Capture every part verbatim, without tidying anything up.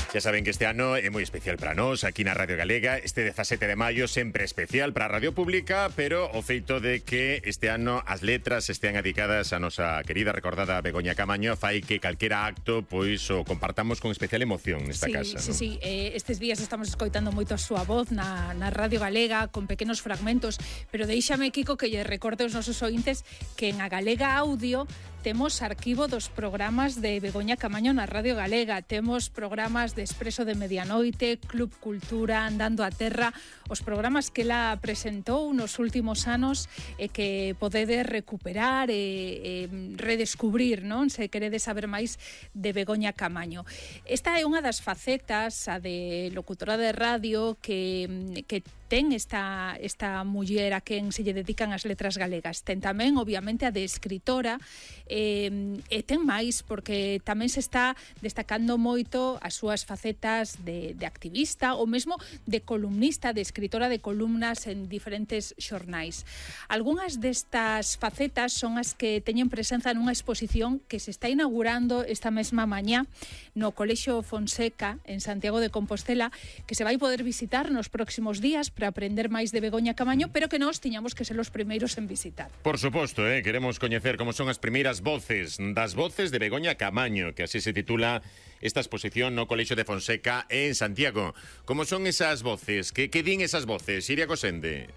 Xa saben que este ano é moi especial para nós aquí na Radio Galega. Este dezasete de maio sempre especial para a Radio Pública, pero o feito de que este ano as letras estean dedicadas a nosa querida recordada Begoña Caamaño fai que calquera acto pois o compartamos con especial emoción nesta sí, casa. Sí, ¿no? sí, eh, estes días estamos escoitando moito a súa voz na, na Radio Galega con pequenos fragmentos, pero deixame, Kiko, que lle recorde aos nosos ointes que en a Galega Audio temos arquivo dos programas de Begoña Caamaño na Radio Galega. Temos programas de Expreso de Medianoite, Club Cultura, Andando a Terra, os programas que ela presentou nos últimos anos e que podedes recuperar e, e redescubrir, non? Se queredes saber máis de Begoña Caamaño. Esta é unha das facetas, a de locutora de radio, que, que ten esta, esta muller a quen se lle dedican as letras galegas. Ten tamén, obviamente, a de escritora, e, e ten máis, porque tamén se está destacando moito as súas facetas de, de activista ou mesmo de columnista, de escritora de columnas en diferentes xornais. Algúnas destas facetas son as que teñen presenza nunha exposición que se está inaugurando esta mesma mañá no Colexio Fonseca en Santiago de Compostela, que se vai poder visitar nos próximos días para aprender máis de Begoña Caamaño, pero que nós tiñamos que ser os primeiros en visitar. Por suposto, eh, queremos coñecer como son as primeiras voces das voces de Begoña Caamaño, que así se titula esta exposición no Colexio de Fonseca en Santiago. Como son esas voces? Que, que din esas voces? Iria Cosende.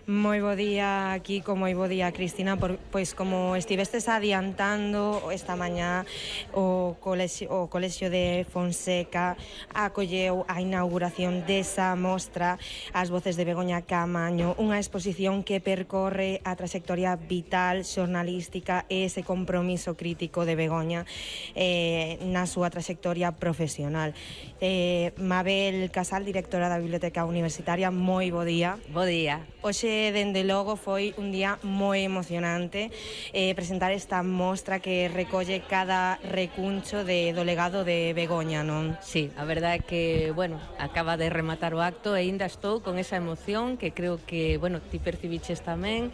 Moi bo día, Kiko, moi bo día, Cristina. Por, pois como estivestes adiantando esta mañá, o colexio, o colexio de Fonseca acolleu a inauguración desa mostra As voces de Begoña Caamaño, unha exposición que percorre a trayectoria vital, xornalística e ese compromiso crítico de Begoña eh, na súa trayectoria profesional. Eh, Mabel Casal, directora da Biblioteca Universitaria, moi bo día. Bo día. Oxe, dende logo, foi un día moi emocionante eh, presentar esta mostra que recolle cada recuncho de, do legado de Begoña, non? Sí, a verdade é que, bueno, acaba de rematar o acto e ainda estou con esa emoción que creo que, bueno, ti percibiches tamén.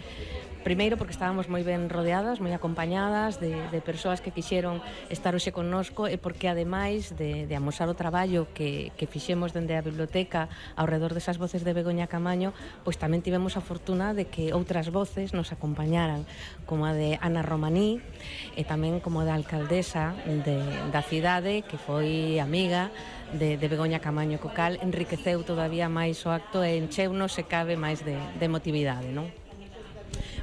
Primeiro porque estábamos moi ben rodeadas, moi acompañadas de, de persoas que quixeron estar hoxe connosco e porque ademais de, de amosar o traballo que, que fixemos dende a biblioteca ao redor desas voces de Begoña Caamaño, pois tamén tivemos a fortuna de que outras voces nos acompañaran, como a de Ana Romaní e tamén como a da alcaldesa de, da cidade, que foi amiga de, de Begoña Caamaño, co cal enriqueceu todavía máis o acto e encheunos se cabe máis de, de emotividade, non?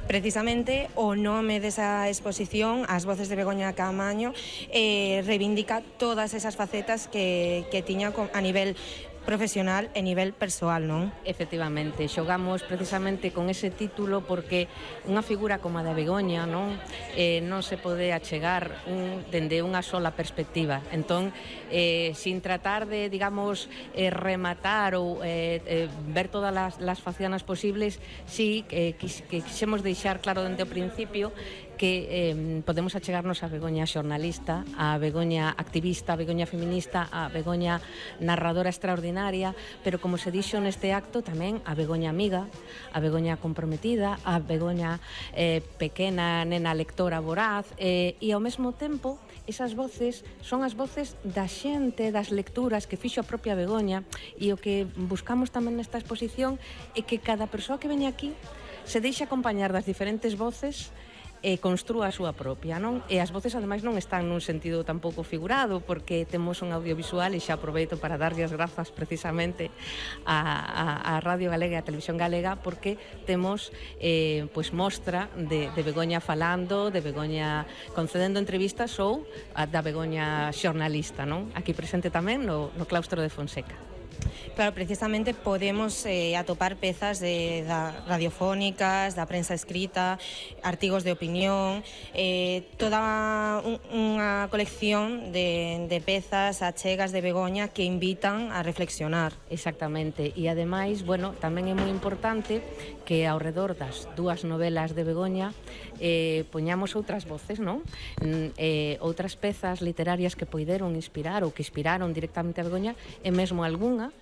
Precisamente o nome desa exposición, As voces de Begoña Caamaño, eh, reivindica todas esas facetas que, que tiña a nivel profesional e nivel persoal, non? Efectivamente, xogamos precisamente con ese título porque unha figura como a da Begoña, non, eh, non se pode achegar un, dende unha sola perspectiva. Entón, eh, sin tratar de, digamos, eh, rematar ou eh, eh, ver todas as, las facianas posibles, sí eh, que, que quixemos deixar claro dende o principio que eh, podemos achegarnos a Begoña xornalista, a Begoña activista, a Begoña feminista, a Begoña narradora extraordinaria, pero como se dixo neste acto tamén a Begoña amiga, a Begoña comprometida, a Begoña eh, pequena nena lectora voraz, eh, e ao mesmo tempo esas voces son as voces da xente, das lecturas que fixo a propia Begoña, e o que buscamos tamén nesta exposición é que cada persoa que veña aquí se deixe acompañar das diferentes voces e construa a súa propia, non? E as voces ademais non están nun sentido tampouco figurado, porque temos un audiovisual e xa aproveito para darlle as grazas precisamente a, a, a Radio Galega e a Televisión Galega, porque temos eh, pois mostra de, de Begoña falando, de Begoña concedendo entrevistas ou a da Begoña xornalista, non? Aquí presente tamén no, no claustro de Fonseca. Claro, precisamente podemos eh, atopar pezas de, da radiofónicas, da prensa escrita, artigos de opinión, eh, toda un, unha colección de, de pezas achegas de Begoña que invitan a reflexionar. Exactamente, e ademais, bueno, tamén é moi importante que ao redor das dúas novelas de Begoña eh, poñamos outras voces, non? Eh, outras pezas literarias que poideron inspirar ou que inspiraron directamente a Begoña, e mesmo algunha